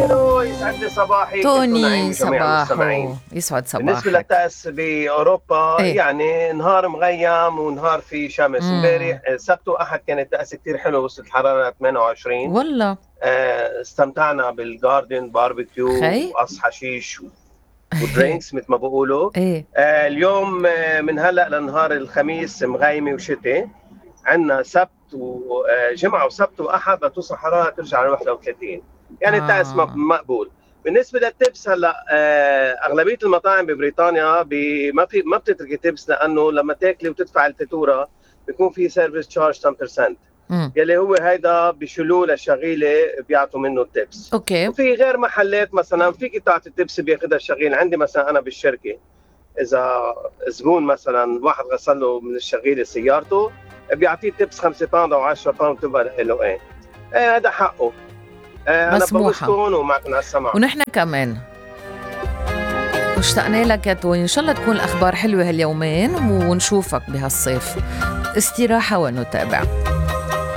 ألو يسعد لي صباحي توني صباحو يسعد صباحك. بالنسبة للطقس بأوروبا ايه؟ يعني نهار مغيم ونهار في شمس. امبارح سبت وأحد كانت طقس كتير حلو، وصلت الحرارة 28 والله. استمتعنا بالجاردن باربيكيو خي وقص حشيش ودرينكس مثل ما بقولوا. ايه اليوم من هلأ لنهار الخميس مغيمة وشتي. عندنا سبت وجمعة وسبت وأحد بتوصل حرارة ترجع ل 31، يعني الطقس مقبول. بالنسبة للتبس هلا أغلبية المطاعم ببريطانيا ما بتتركي تبس، لأنه لما تاكلي وتدفع الفاتورة بيكون في سيرفيس تشارج 10%، يلي هو هيدا بيشيلوه للشغيلة بيعطوا منه التبس. اوكي. وفي غير محلات مثلا فيك تعطي التبس بياخدها الشغيل. عندي مثلا أنا بالشركة إذا زبون مثلا واحد غسل له من الشغيلة سيارته بيعطيه تبس 5 باوند أو 10 باوند تبقى له ايه هذا حقه. أنا بوسكم ومعكم على السمع. ونحن كمان اشتقنا لك يا توني. إن شاء الله تكون الأخبار حلوة هاليومين ونشوفك بهالصيف. استراحة ونتابع.